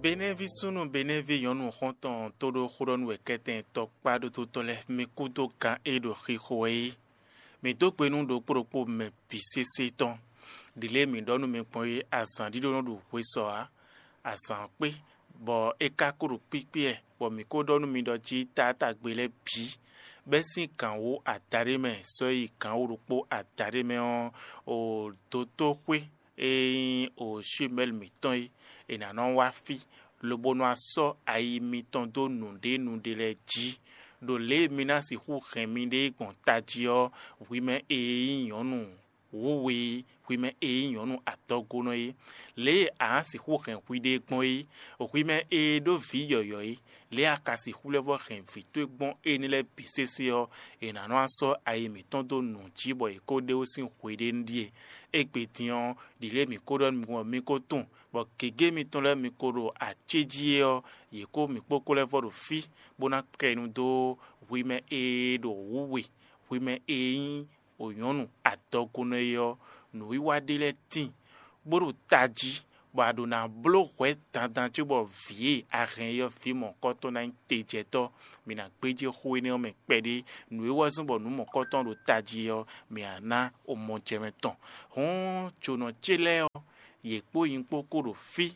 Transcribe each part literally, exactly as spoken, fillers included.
Benɛ́ví súnnu Benɛ́ví nyɔ̌nu xɔ́ntɔn tóɖó xóɖɔ́nú wɛ kɛ́tɛn tɔkpá ɖótótɔ́ lɛ́ɛ, mi kúdó gǎn e ɖo xixo wɛ é. Mǐ dó gbe nú ɖokpó ɖokpó mɛ bǐ sésé tɔn. Ɖǐlée mǐ ɖɔ nú mi gbɔn é, azǎn ɖíɖó nɔ ɖo hwe sɔ ǎ. Azǎn ɔ́ kpé, bɔ é ka ko ɖo kpíkpí wɛ, bɔ mǐ ko ɖɔ nú mi ɖɔ jí taátagbe lɛ́ɛ bǐ, bɛ́ sín gǎn wú adaɖé mɛ sɔ́ yi gǎn wú ɖokpó adaɖé mɛ ɔ́, o dotóxwé e nyí o Shumɛ́li mǐtɔn é, è nǎ nɔ wá fí, lobo nɔ wá sɔ́ ayi mitɔn dó nǔɖénúɖé lɛ́ɛ jí. Ɖo lě e mi ná sixú hɛn miɖée gbɔn tají ɔ́, hwi mɛ e nyí nyɔ̌nu wǔwe, hwi mɛ e nyí nyɔ̌nu adɔgonɔ é, lě e a nǎ sixú hɛn hwiɖée gbɔn é, hwi mɛ e ɖó vǐ yɔ̌yɔ́ é, lě e a ka sixú lɛ́ vɔ́ hɛn vǐ towe gbɔn énɛ́ lɛ́ɛ bǐ sésé ɔ́, è nǎ nɔ wá sɔ́ ayi mǐtɔn dó nǔ jí bɔ è ko ɖe ó sín hweɖénu ɖíe. Égbé din ɔ́, ɖǐlée mǐ ko ɖɔ nú mi ɔ́, mi ko tunwun, bɔ gěgé mitɔn lɛ́ɛ mi ko ɖo acéjí é ɔ́, yě kó mǐ kpókpó lɛ́ vɔ́ ɖo fí, bó ná kɛ nu dó hwi mɛ e ɖo wǔwe, hwi mɛ e nyí wǒnyɔ́nu adɔgunɔ é ɔ́, nǔwiwa ɖé lɛ́ɛ tíin, bó ɖo tají, bɔ a ɖǒ ná bló hwɛ̌ dandan cóbɔ vǐ e a hɛn é ɔ́, vǐ mɔ̌kɔtɔn ná nyí tejɛtɔ́. Mǐ ná gbéjé xó énɛ́ ɔ́ mɛ kpɛɖé. Nǔ e wɛ zɔ́n bɔ nǔ mɔ̌kɔtɔn ɖo tají ɔ́, mǐ ná ná omɔjɛmɛ tɔn. Hɔ̌n, jǒnɔ ce lɛ́ɛ ɔ́, yě kpó nyi kpó kó ɖo fí.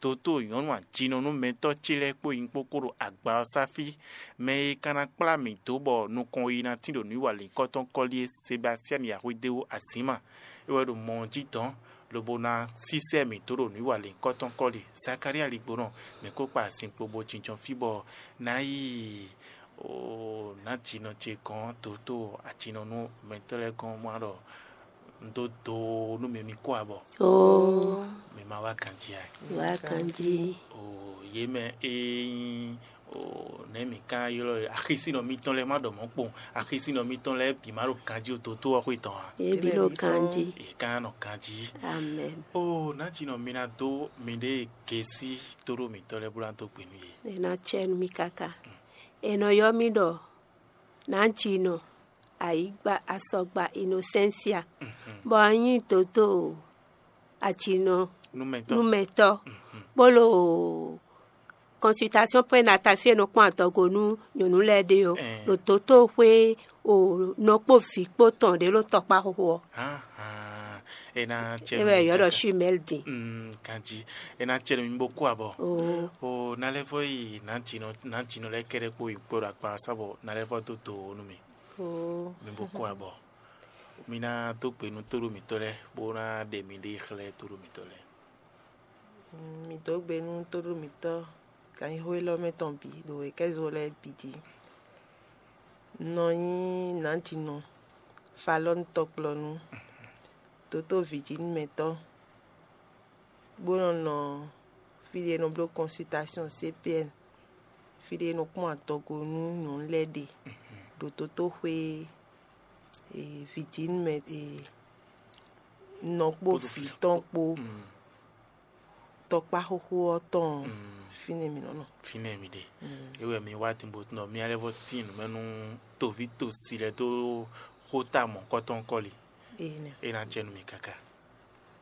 Dotóo nyɔ̌nu ajinɔnúmɛtɔ́ ce lɛ́ɛ kpó nyi kpó kó ɖo agba ɔ́ sá fí. Mɛ e ka ná kplá mǐ dó bɔ nukɔn yi ná tín ɖo nǔwiwa lǐnkɔ́tɔn kɔ́lí é, Sebastiani Yahwedéwu Azǐma, é wɛ ɖo mɔ ɔ́ jí dɔ̌n, lobo ná sísɛ́ mǐ dó ɖo nǔwiwa lǐnkɔ́tɔn kɔ́lí. Zakalía ligbonɔ, mǐ kó kpa azinkpo bó jínjɔ́n fí bɔ ná yi o nǎjinɔ ce gɔ́n, dotóo ajinɔnúmɛtɔ́ lɛ́ɛ gɔ́n, má ɖɔ un dó do nú mi, mi kó abɔ. Oo, Mi ma wá ganjí a? Wá ganjí. O yě mɛ e nyí o nɛ̌ mǐ ka ylɔ́ axisínɔ mitɔn lɛ́ɛ, má ɖɔ mɔ̌ kpowun, axisínɔ mitɔn lɛ́ɛ bǐ má ɖo ganjí o, dotóo ɔ́ xwé tɔn a? Yě bǐ ɖo ganjí. Yě ka nɔ ganjí. Amen. O nǎjinɔ mi ná dó miɖée gěsí tóɖó mǐtɔn lɛ́ɛ bó ná dó gbe nú yě. È nɔ cɛ nú mi káká. È nɔ ylɔ́ mì ɖɔ nǎjinɔ ayǐgba asɔgba Inosensia, bɔ a nyí dotóo ajinɔ Numɛtɔ́. Numɛtɔ́, bó ɖo consultation prénatale fí e nɔ kpɔ́n adɔgo nú nyɔ̌nu lɛ́ɛ ɖe ɔ́, Ɛɛ. Ɖo dotóxwé o nɔ kpó vǐ kpó tɔn ɖě ɖo tɔkpá xóxó ɔ́. Hánhán, é ná cɛ É wɛ yɔ̌ ɖɔ Shumɛ́li din. Mm, ganjí, é ná cɛ nú mi bó kú abɔ. Oo. O ná lɛ́ vɔ yi nǎjinɔ nǎjinɔ lɛ́ɛ kɛ́ɖɛ́ kpó yi kpó ɖo akpa sá bɔ ná lɛ́ vɔ dó do nú mi. Oo. Mi bó kú abɔ. Mi ná dó gbe nú tóɖó mǐtɔn lɛ́ɛ bó ná ɖe miɖée xlɛ́ tóɖó mǐtɔn lɛ́ɛ. Mi dó gbe nú tóɖó mǐtɔn ganxixo élɔ́ mɛ tɔn bǐ ɖo wěkɛ́zo lɛ́ɛ bǐ jí. Un nɔ nyí nǎjinɔ Falɔ́nu tɔkplɔ́nú, dótó vǐjínúmɛtɔ́, bó nɔ nɔ fí ɖé e nɔ bló consultation C P N, fí ɖé e nɔ kpɔ́n adɔgo nú nyɔ̌nu lɛ́ɛ ɖe ɖo dotóxwé e, vǐjínúmɛ e, nɔ kpó Kpódó vǐ tɔn kpó Mm. tɔkpá xóxó ɔ́ tɔn Mm. fínɛ́ mǐ nɔ nɔ. Fínɛ́ mi ɖe. Mm. É wɛ mi wá din bó nɔ mì lɛ́ vɔ tín nǔ mɛ nú toví tosi lɛ́ɛ dó xóta mɔ̌kɔ́tɔn kɔ́li. Énɛ́. É ná cɛ nú mi káká.